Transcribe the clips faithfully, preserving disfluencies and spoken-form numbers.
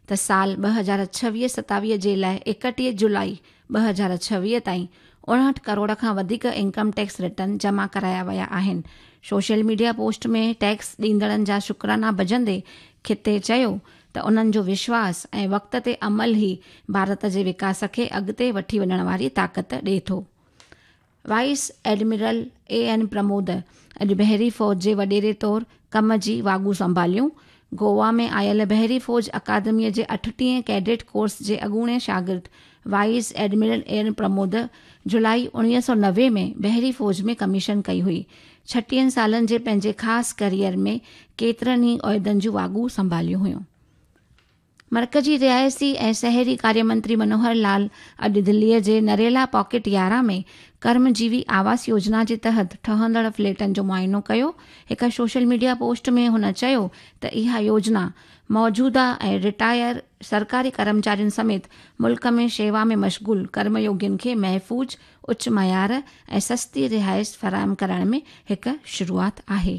ته سال ٻه هزار ڇويهه ستاويهه جي لاءِ ايڪٽيهه جولاءِ ٻه هزار ڇويهه تائين اڻهٺ ڪروڙ کان وڌيڪ انڪم ٽيڪس ريٽرن جمع ڪرايا ويا آهن. سوشل ميڊيا پوسٽ ۾ ٽيڪس ڏيندڙن جا شڪرانا ڀڄندي کتي چيو ته انهن جو وشواس ۽ وقت تي عمل ئي ڀارت جي وڪاس کي اڳتي وٺي وڃڻ واري طاقت ڏئي ٿو. Vice admiral A N Pramod اڄ بحري فوج جي وڏيري طور ڪم جي واڳون سنڀاليون. گوا ۾ آيل بحري فوج اڪادميءَ جي اٺٽيهين ڪيڊٽ ڪورس جي اڳوڻي شاگرد vice admiral A N Pramod جولاءِ اڻويهه سؤ نوي ۾ بحري فوج ۾ ڪميشن ڪئي هئي. ڇٽيهن سالن جي پنهنجي خاص ڪيريئر ۾ ڪيترن ئي عهدن جون واڳون سنڀاليون هيون. مرڪزي رهائشي ۽ شهري ڪاريه منتري منوهر لال اڄ دليءَ جي نريلا پاڪيٽ يارهن ۾ ڪرمجيوي آواس يوجنا جي تحت ٺهندڙ فليٽن جو معائنو ڪيو. هڪ سوشل ميڊيا پوسٽ ۾ هن چيو ته اها يوجنا موجوده ۽ رٽائر سرڪاري ڪرمچارين سميت ملڪ ۾ شيوا ۾ مشغول ڪرميوگين کي محفوظ، اچ معيار ۽ سستي رهائش فراهم ڪرڻ ۾ هڪ شروعات آهي.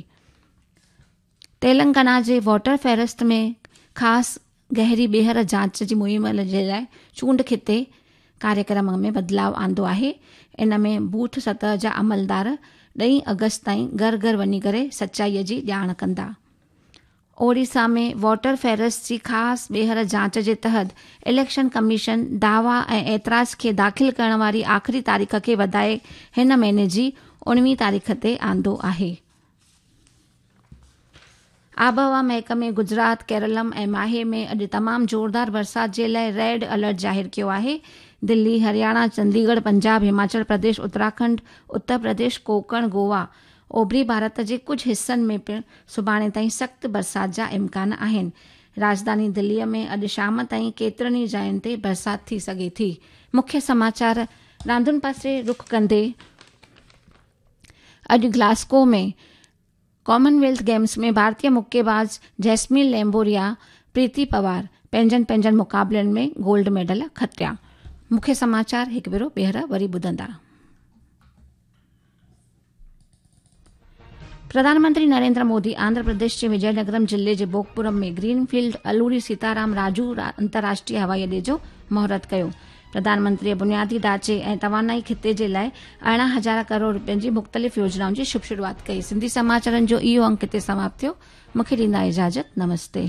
تيلنگانا جي ووٽر فهرست ۾ خاص گهري ٻيهر جاچ جي مهم جي لاءِ چونڊ کتي ڪاريڪرم ۾ بدلاءُ آندو آهي. ان ۾ بوٿ سطح جا عملدار ڏهين آگسٽ تائين گهر گهر وڃي ڪري سچائيءَ جي ڄاڻ ڪندا. اوڙيسا ۾ ووٽر فهرست جي خاص ٻيهر جاچ جي تحت اليڪشن ڪميشن دعويٰ ۽ اعتراض کي داخل ڪرڻ واري آخري تاريخ کي وڌائي هن مهيني جي اڻويهه تاريخ تي آندو آهي. آبهوا محڪمي گجرات، ڪيرلم ۽ ماهي ۾ اڄ تمام زوردار برسات جي لاءِ ريڊ الرٽ ظاهر ڪيو آهي. دلي، هرياڻا، چنديڳڙهه، پنجاب، هماچل پرديش، اتراکنڊ، اتر پرديش، ڪوڪڻ، گوا، اوڀري ڀارت جي ڪجهه حصن ۾ پڻ سڀاڻي تائين سخت برسات جا امڪان آهن. راڄڌاني دليءَ ۾ اڄ شام تائين ڪيترن ئي جاين تي برسات ٿي سگهي ٿي. مکيه سماچار راندن پاسي رخ ڪندي اڄ گلاسگو ۾ ڪامنويلٿ گيمز ۾ ڀارتيه مڪيباز جيسمين ليمبوريا، پريتي پوار پنهنجن پنهنجن مقابلن ۾ گولڊ ميڊل کٽيا. مکيه سماچار هڪ ڀيرو ٻيهر وري ٻڌندا. پرڌان منتري نريندر مودي آنڌرا پرديش جي وجينگرم ضلعي جي بوگپورم ۾ گرين فيلڊ الوري سيتارام راجو انترراشٽريه هوائي اڏي جو مهورت ڪيو. پرڌان منتريءَ بنيادي ڍانچي ۽ توانائي خطي جي لاءِ ارڙهن هزار ڪروڙ رپين جي مختلف يوجنائن جي شڀ شروعات ڪئي. سنڌي سماچارن جو اهو انڪ هتي سماپت ٿيو. مون کي ڏيندا اجازت. نمستي.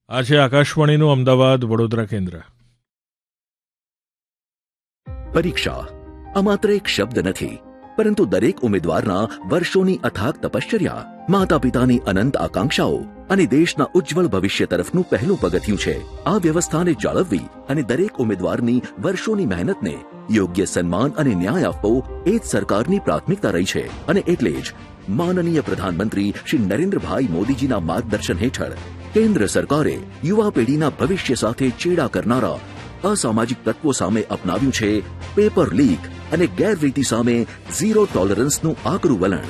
આ છે આકાશવાણીનું અમદાવાદ વડોદરા કેન્દ્ર. પરીક્ષા આ માત્ર એક શબ્દ નથી, પરંતુ દરેક ઉમેદવારના વર્ષોની અથાગ તપશ્ચર્યા, માતા પિતાની અનંત આકાંક્ષાઓ અને દેશના ઉજ્જવળ ભવિષ્ય તરફનું પહેલું પગથિયું છે. આ વ્યવસ્થાને જાળવવી અને દરેક ઉમેદવારની વર્ષોની મહેનતને યોગ્ય સન્માન અને ન્યાય આપવો એ જ સરકારની પ્રાથમિકતા રહી છે. અને એટલે જ માનનીય પ્રધાનમંત્રી શ્રી નરેન્દ્રભાઈ મોદીજીના માર્ગદર્શન હેઠળ કેન્દ્ર સરકારે યુવા પેઢીના ભવિષ્ય સાથે ચેડા કરનારા અસામાજિક તત્વો સામે અપનાવ્યું છે પેપર લીક અને ગેરરીતિ સામે ઝીરો ટોલરન્સનું આકરું વલણ,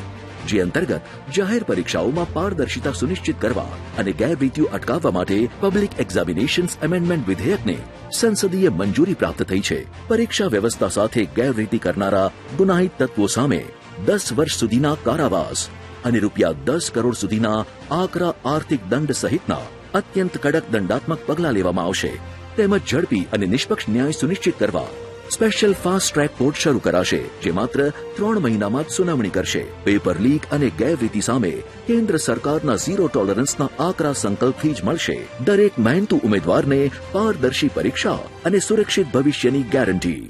જે અંતર્ગત જાહેર પરીક્ષાઓમાં પારદર્શિતા સુનિશ્ચિત કરવા અને ગેરરીતિઓ અટકાવવા માટે પબ્લિક એક્ઝામિનેશન્સ એમેન્ડમેન્ટ વિધેયકને સંસદીય મંજૂરી પ્રાપ્ત થઈ છે. પરીક્ષા વ્યવસ્થા સાથે ગેરરીતિ કરનારા ગુનાહિત તત્વો સામે દસ વર્ષ સુધીના કારાવાસ અને રૂપિયા દસ કરોડ સુધીના આકરા આર્થિક દંડ સહિતના અત્યંત કડક દંડાત્મક પગલાં લેવામાં આવશે. તેમજ ઝડપી અને નિષ્પક્ષ ન્યાય સુનિશ્ચિત કરવા સ્પેશિયલ ફાસ્ટ ટ્રેક કોર્ટ શરૂ કરાશે, જે માત્ર ત્રણ મહિનામાં જ સુનાવણી કરશે. પેપર લીક અને ગેરરીતિ સામે કેન્દ્ર સરકારના ઝીરો ટોલરન્સના આકરા સંકલ્પથી જ મળશે દરેક મહેનતુ ઉમેદવારને પારદર્શી પરીક્ષા અને સુરક્ષિત ભવિષ્યની ગેરંટી.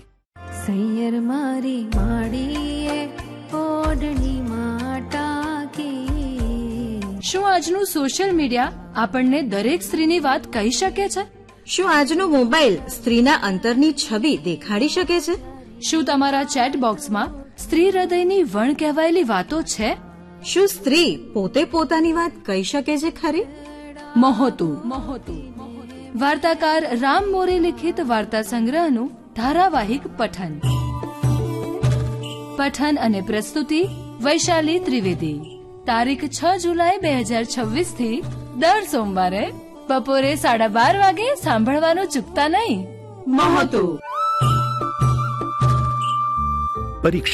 સૈયર મારી માડીએ ઓઢણી માટાકી. શું આજનું સોશિયલ મીડિયા આપણને દરેક સ્ત્રીની વાત કહી શકે છે? શું આજનો મોબાઈલ સ્ત્રીના અંતરની છબી દેખાડી શકે છે? શું તમારા ચેટ બોક્સમાં સ્ત્રી હૃદયની વણ કહેવાયેલી વાતો છે? શું સ્ત્રી પોતે પોતાની વાત કહી શકે છે ખરી? મહોતું મહોતું વાર્તાકાર રામ મોરે લિખિત વાર્તા સંગ્રહનું ધારાવાહિક પઠન. પઠન અને પ્રસ્તુતિ વૈશાલી ત્રિવેદી. તારીખ છ જુલાઈ બે હજાર છવ્વીસ થી દર સોમવારે બપોરે સાડા બાર વાગે સાંભળવાનું ચૂકતા નહીં. મહોતું. પરીક્ષા